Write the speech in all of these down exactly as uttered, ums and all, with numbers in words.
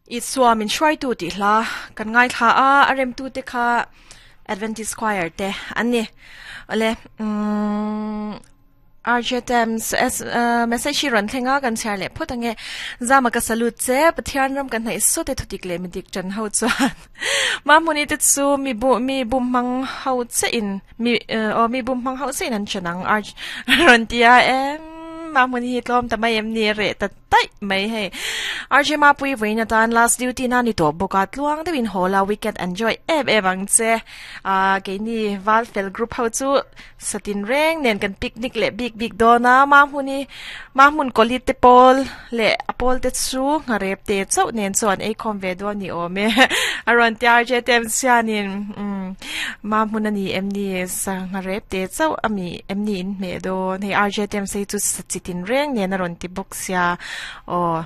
Isua min hruaitu tih hla kan ngaithla a a remtu te kha Adventist Choir te an ni awle umm R J Thames S message hi rawn thleng a kan chhiar leh phawt ange zama ka salute che Pathian ram kan hnaih saw te thutik leh midik tan ho chuan Mahmuni te chu mi bu mi bum hmang ho che in mi aw mi bum hmang ho che in an chanang R rawn ti a em Mahmuni hi tlawm ta mai em ni reh ta taih mai hei R J Mapui vawiin atan last duty na ni tawh bawk a tluang deuhin haw la weekend enjoy em em ang che ah keini Valfel group ho chu satin reng nen kan picnic leh bik bik dawn a Mahmuni Mahmun kawli te pawl leh a pawl te chu ngharep te chauh nen chuan ei khawm ve dawn ni awm e a rawn ti R J Tem sianin umm Mahmun a ni em ni sa ngharep te chauh a mi em ni in hmeh dawn hei R J Tem sei chu sachitin reng nen a rawn ti bawk sia aw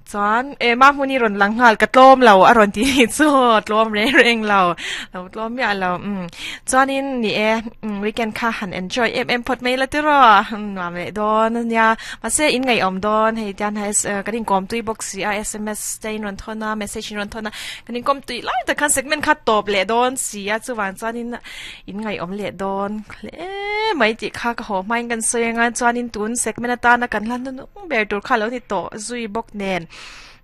chuan e Mahmuni rawn lang nghal ka tlawm lo a rawn ti ni chu tlawm reng reng lo lo tlawm miah lo umm chuanin ni e weekend kha han enjoy em em phawt mai la tiraw nuam leh dawn ania mahse in ngaihawm dawn hei tian ha kan inkawm tui bawk si a S M S te in rawn thawn a message in rawn thawn a kan inkawm tui lai tak khan segment kha tawp leh dawn si a chuvang chuanin in ngaihawm leh dawn hle mai tih kha ka haw hmain kan sawi anga chuanin tun segment atana kan hla hnunung ber tur kha lo ni tawh zui bawk nen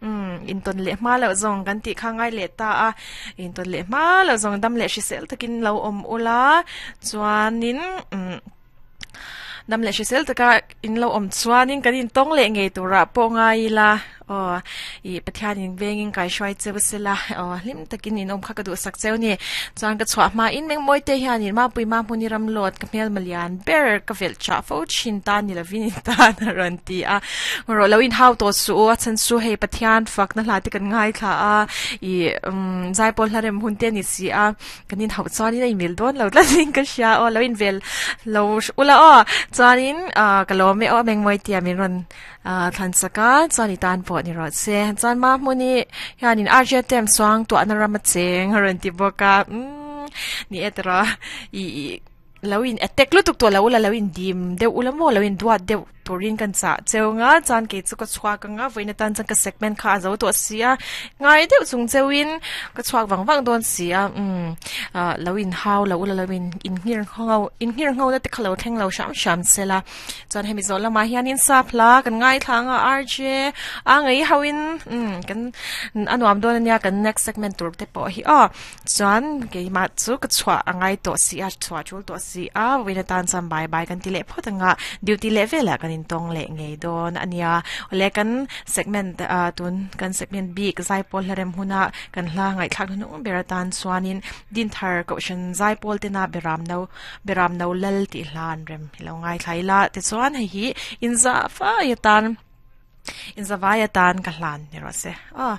um intawn leh hma loh zawng kan tih kha ngai leh ta a intawn leh hma loh zawng dam leh hrisel takin lo awm ula chuanin um dam leh hrisel taka in lo awm chuanin kan intawng leh ngei turah pawh ngai ila aw i Pathian in vengin kai hruai cheu sela aw hlim takin in awm kha ka duh sak cheu ni chuan ka chhuah hma in mengmawi te hianin Mapui Mahmuni ram lawt ka hmel malian ber ka velh chah fo thin ta ni lovin in tan a rawn ti a rawh lo in hau tawh su a chhan chu hei Pathian fak na hla te kan ngaithla a i um zaipawl hla rem hun te ani si a kan in hauh chuanin a inmil dawn lo tlatin ka hria aw lo in vel lo ula aw chuanin ah ka lawm e aw mengmawi tia min rawn ah thlan sak a chuan i tan pawh ni rawh che chuan Mahmuni hianin R J Tem suang tuahna ram a cheng a rawn ti bawk a umm ni e tiraw i i lo in attack lutuk tawh lo ula lo in dim deuh ula maw lo in duat deuh turin kan chah cheu nga chuan kei chu ka chhuak anga vawiin atan chuan ka segment kha a zo tawh si a ngai deuh chung cheuin ka chhuak vang vang dawn si a umm ah lo in hau lo ula lo in inhngir ngho inhngir ngho na te kha lo thleng lo hram hram sela chuan hemi zawh lamah hianin sap hla kan ngaithla anga R J a ngei hoin umm kan a nuam dawn ania kan next segment tur te pawh hi aw chuan keimah chu ka chhuah a ngai tawh si a chhuah tul tawh si a vawiin atan chuan bye bye kan ti leh phawt anga duty leh velah kan intawng leh ngei dawn ania awle kan segment ah tun kan segment bik zaipawl hla rem huna kan hla ngaihthlak hnung ber atan chuanin Dinthar Kohhran zaipawl tena beram no beram no lal tih hla an rem ilo ngaithla ila tichuan hei hi inza fai atan inza vai atan ka hlan ni rawh se aw.